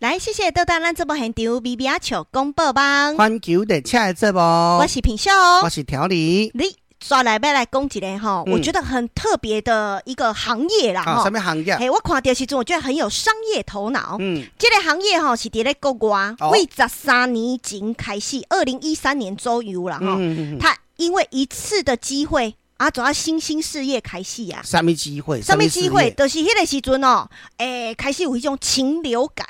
來，謝謝倒轉咱節目現場咪咪仔笑廣播網，環球熱車的節目，我是品秀，我是調理。你煞來欲來講一个吼，我覺得很特別的一個行業啦，吼。啥物行業？嘿，我看著時陣，我覺得很有商業頭腦。這個行業吼是佇咧國外，為13年前開始，2013年左右啦，吼。他因為一次的機會啊，做啊新興事業開始啊。啥物機會？啥物機會？就是彼個時陣哦，開始有彼種禽流感。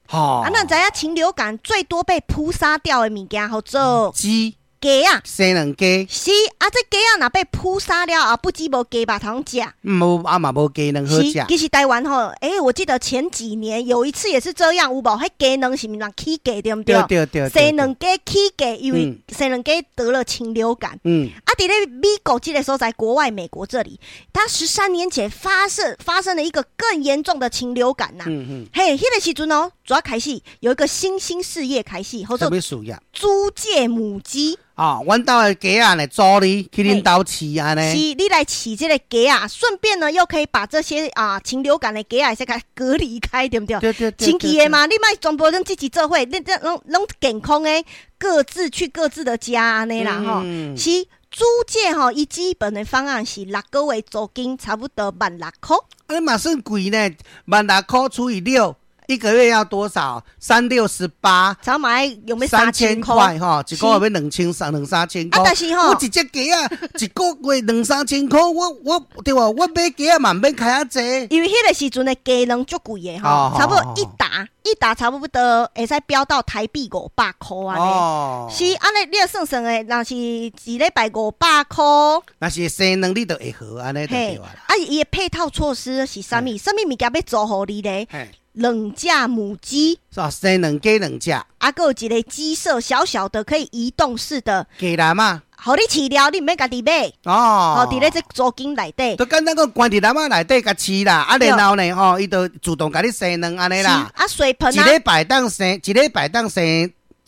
啊，咱知影禽流感最多被撲殺掉的物件，號做雞。雞仔，生卵雞。是啊，這雞仔若被撲殺了啊，不止無雞肉通食。無啊嘛無雞卵好食。其實台灣吼，我記得前幾年有一次也是這樣，有無？彼雞卵是毋是起價對毋對？對對對。生卵雞起價，因為生卵雞得了禽流感。啊，佇咧美國這個所在，國外美國這裡，他13年前發生了一個更嚴重的禽流感吶。嘿，彼個時陣哦，主要開始有一個新興事業開始，號做租借母雞。哦，阮兜的雞仔呢，租你去恁兜飼按呢。是，你來飼這個雞仔，順便呢又可以把這些啊禽流感的雞仔先共隔離開，對毋對？對對對。神奇的嘛，你莫全部攏擠擠做伙，你這攏攏健康的，各自去各自的家按呢啦吼。是租借吼，伊基本的方案是6個月租金差不多萬六箍。啊，嘛算貴呢，萬六箍除以六。一個月要多少？三六十八，早買有沒3000塊吼，一個月欲兩千三兩三千箍。啊，但是吼，我一隻雞仔，一個月兩三千箍，我對無？我買雞仔嘛毋免開遐濟。因為彼個時陣的雞卵足貴的吼，差不多一打一打差不多會使飆到台幣500箍按呢。是按呢，你算算的，若是一禮拜五百箍，若是生卵你就會好按呢就對啦。啊，伊的配套措施是啥物？啥物物件欲租予你咧？兩架母雞，是吧？生卵雞兩隻，啊，閣有一個雞舍，小小的可以移動式的雞籠仔，予你飼了，你毋免家己買哦，佇咧這租金內底，就簡單講，關佇籠仔內底共飼啦，啊，然後呢，吼，伊就自動共你生卵按呢啦。啊，水盆啊，一禮拜當生，一禮拜當生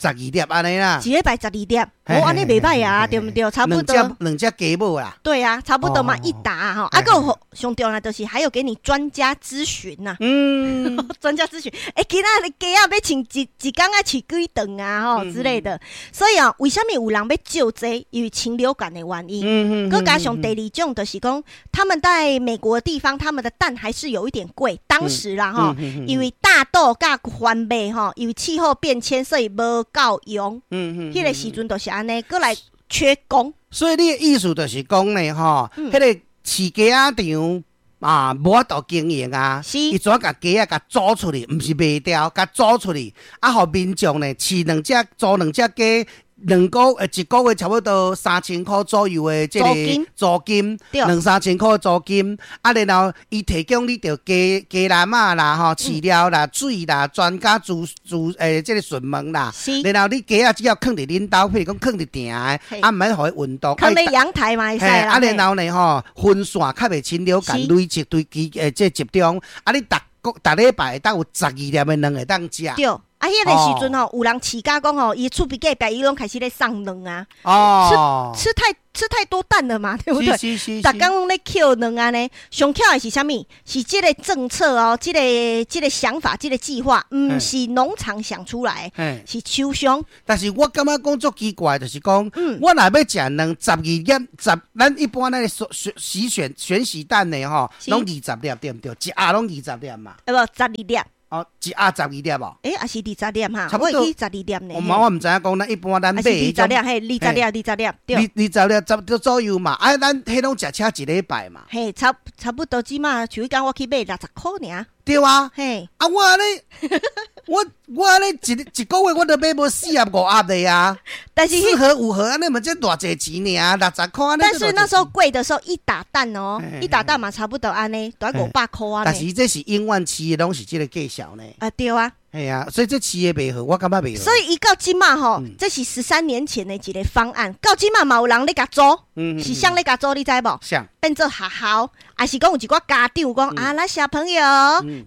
十二粒按呢啦。一禮拜十二粒，哦，按呢袂䆀啊，對毋對？差不多。兩隻雞母啦。對啊，差不多嘛，一打吼，啊，閣有上重要就是還有給你專家諮詢吶。專家諮詢，今仔日雞仔欲飼一一工愛飼幾頓啊，吼之類的。所以啊，為啥物有人欲借這？因為禽流感的原因。閣加上第二種就是講，他們在美國的地方，他們的蛋還是有一點貴。當時啦，吼，因為大豆佮番麥吼，因為氣候變遷，所以無夠用。彼個時陣就是按呢，閣來缺工。所以你的意思就是講呢，吼，彼個飼雞仔場啊，無法度經營啊，伊怎共雞仔共租出去，毋是賣掉，共租出去，啊，予民眾呢飼兩隻，租兩隻雞。一個月差不多三千箍左右的這個租金，兩三千箍租金，啊，然後伊提供你著雞雞籠仔啦，吼，飼料啦、水啦、專家諮諮這個詢問啦，然後你雞仔只要囥佇恁兜，譬如講囥佇埕的，啊，毋免予伊運動，囥佇陽台嘛會使啦。啊，然後呢，吼，分散較袂禽流感累積對機這集中，啊，你逐個逐禮拜會當有十二粒的卵會當食。對。啊，彼個時陣吼，有人飼甲講吼，伊厝邊隔壁伊攏開始咧送卵啊，吃太多蛋了嘛，對不對？逐工攏咧抾卵按呢，上巧的是啥物？是這個政策哦，這個想法，這個計劃，毋是農場想出來，是廠商。但是我感覺講足奇怪，就是講，我若欲食卵十二粒十，咱一般咱洗洗選選洗蛋的吼，攏二十粒對毋對？一盒攏二十粒嘛。欸無，十二粒。哦，一盒十二粒無？欸，抑是二十粒哈？差不多。我會記十二粒呢。我毋知影講，咱一般咱買二十粒，嘿，二十粒，二十粒，對。二十粒差不多左右嘛。啊，咱彼攏食車一禮拜嘛。嘿，差不多這馬，像彼工我去買60箍爾。對啊。嘿。啊，我按呢，我按呢一個月我都買無四盒五盒的啊。但是四盒五盒按呢嘛，才偌濟錢爾，60箍。但是那時候貴的時候，一打蛋哦，一打蛋嘛，差不多按呢，都愛500箍按呢。但是這是永遠飼的，攏是這個價數呢。啊，對啊。嘿啊，所以這飼的袂好，我感覺袂好。所以伊到這馬吼，這是13年前的一個方案，到這馬嘛有人咧共租，是啥咧共租，你知無？啥？變做學校，抑是講有一寡家長講啊，咱小朋友，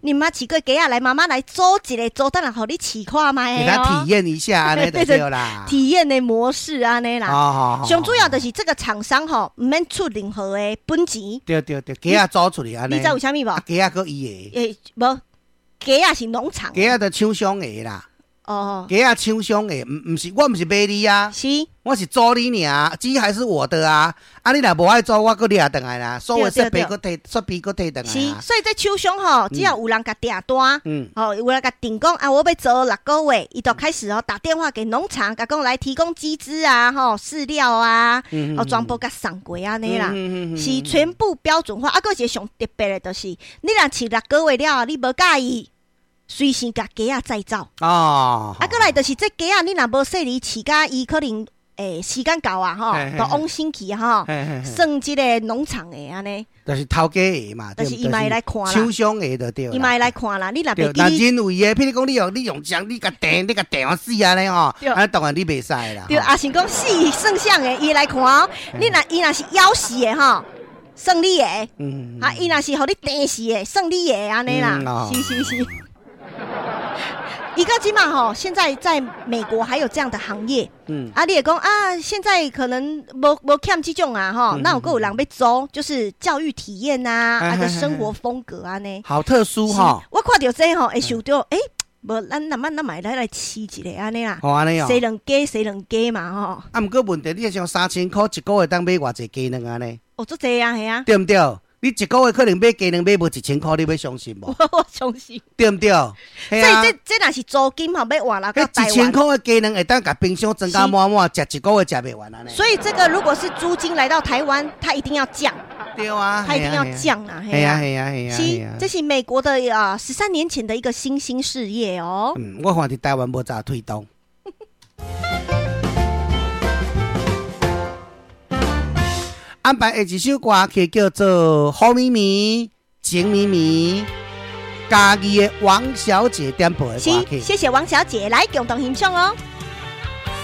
你毋捌飼過雞仔來，媽媽來租一個，租轉來予你飼看覓。給他體驗一下，按呢就對啦。體驗的模式按呢啦。上主要就是這個廠商吼，毋免出任何的本錢。對對對，雞仔租出去按呢。你知為啥物無？雞仔閣伊的。欸，無。雞仔是農場，雞仔就廠商的啦。哦，雞仔廠商的，毋是，我毋是買你啊，是，我是租你爾，雞還是我的啊。啊，你若無愛租，我閣掠轉來啦。所有設備閣提，設備閣提轉來。是，所以這廠商吼，只要有人共訂單，吼，有人共訂講啊，我欲租6個月，伊就開始哦打電話給農場，共講來提供雞隻啊，吼，飼料啊，哦，全部共送過按呢啦，是全部標準化。啊，閣一個上特別的，就是你若飼六個月了，你無佮意，隨時共雞仔載走。哦，啊，閣來就是這雞仔，你若無細膩飼甲伊可能時間到啊，吼，就往生去吼，算這個農場的按呢。就是頭家的嘛，就是伊嘛會來看啦，廠商的就對。伊嘛會來看啦，你若袂記。若人為的，譬如講你用槍，你共掟死按呢吼，啊當然你袂使啦。對，啊是講死算啥的，伊會來看哦。你若伊若是枵死的吼，算你的。啊，伊若是予你釘死的，算你的按呢啦。是是是。伊個這馬吼，現在在美國還有這樣的行業。啊，你會講啊，現在可能無欠這種啊，吼，那有閣有人欲租，就是教育體驗啊，啊個生活風格按呢。好特殊哈！我看著這吼，會想著，欸，無咱咱咱嘛來飼一个按呢啦。哦，按呢哦。生兩雞，生兩雞嘛吼。啊，毋過問題，你像3000箍一個月當買偌濟雞卵按呢？哦，足濟啊，係啊。對毋對？你一個月可能買雞卵買無1000箍，你欲相信無？我相信。對毋對？所以這這若是租金吼，欲換來到台灣。1000箍的雞卵會當共冰箱裝甲滿滿，食一個月食袂完按呢。所以這個如果是租金來到台灣，它一定要降。對啊，它一定要降啊！係啊係啊係啊！是，這是美國的啊，13年前的一個新興事業哦。嗯，我看佇台灣無咋推動。安排的一首歌曲叫做《好咪咪情咪咪》，嘉義的王小姐點播的歌曲。謝謝王小姐來共同欣賞哦。